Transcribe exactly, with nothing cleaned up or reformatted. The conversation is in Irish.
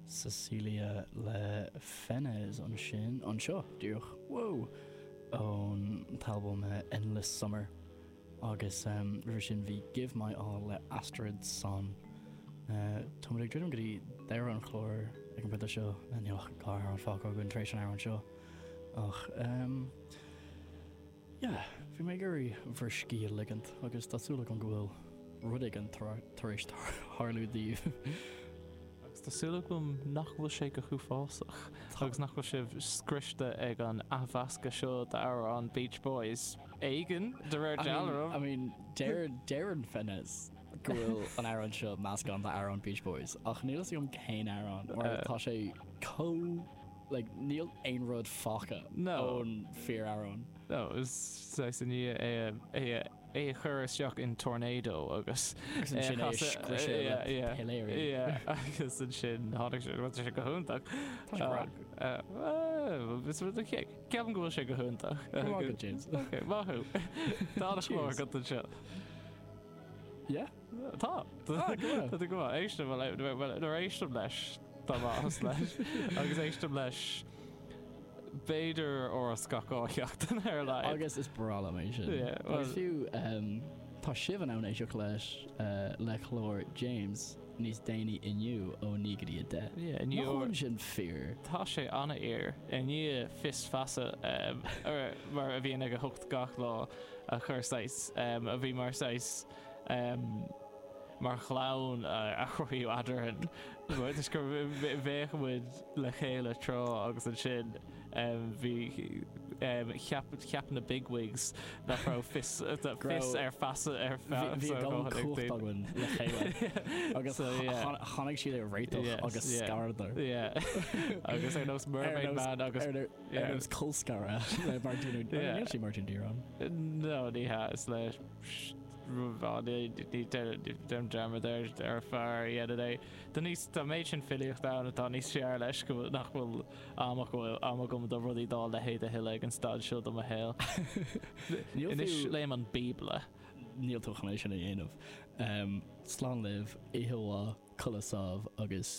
Cecilia le Fennesz ansin anseo díreach wow ón t-albam uh, Endless Summer agus um, roimhe sin bhí Give My All le Astrid Sonne. Uh, Tá ag druidim go dtí deireadh an chláir ag an bpointe seo níl ach dhá amhrán fágtha againn tar éis an amhrán seo ach um, yeah, bhí mé ag iarraidh bhur scíth a ligint agus tá súil agam go bhfuil rud éigin tar éis tarlú daoibh. Agus tá súil agam nach bhfuil sé go huafásach agus nach bhfuil sibh scriosta ag an athmheascadh seo d'amhrán Beach Boys. Éigean de réir I mean, dealraimh. I mean, deir deireann Fennesz go bhfuil an amhrán seo meascán d'amhrán Beach Boys ach níl a fhios agam cén amhrán mar Uh, tá sé chomh like, níl aon rud fágtha No. ón fíor-amhrán. No, is saghas i ndiaidh é é é a chur isteach in tornado agus Agus ansin é a scriosadh le piléirí. Yeah, agus ansin tháinig sé tá sé go hiontach. Tá sé breá. Ceapaim go bhfuil sé go hiontach. Go maith agat, James. Okay, maith thú. Tá an chlár Cheers. agat anseo. Yeah? Tá. Ah, go maith. Tá go maith. Éistim nuair éistim leis tá maith leis agus éistim leis b'fhéidir uair gach dhá sheachtain ar a laghad. Agus is breá liom é sin. Yeah, well- Agus fiú um, tá sibh in ann éisteacht leis uh, le chlár James níos déanaí inniu ó naoi go dtí a deich. Yeah, Nach inniu bhfuil sin fíor. Tá sé an-fhíor i ndiaidh Fios Feasa um, ar- mar a bhíonn ag a hocht gach lá a chur saghas um, a bhí mar saghas um, mar chlann a chruthaíodh eadrainn. Is gur bheadh muid le chéile tráth agus ansin um, bhí um, cheap cheap na bigwigs nach raibh fios fios ar feasa ar Bhí gan cumhacht againn le chéile. Agus So, yeah. tháinig siad ar réiteach Yes, agus yeah. scaradar. Yeah. agus ar nós Mermaid Man agus ar yeah. nós colscaradh le Martin Yeah. Níl sé Martin Dírán. No, ní hea is le ní dearmad ar ar fear dhéanamh é. Tá níos tá méid sin filíocht ann atá níos fearr leis go bhfuil- nach bhfuil am bhfuil am agam do rudaí dá leithéid a thuilleadh ag an staid seo do mo shaol. Níl Anois fiú- léim an Bíobla. Níl tú chun é sin a dhéanamh. Um, slán libh ihe codladh sámh agus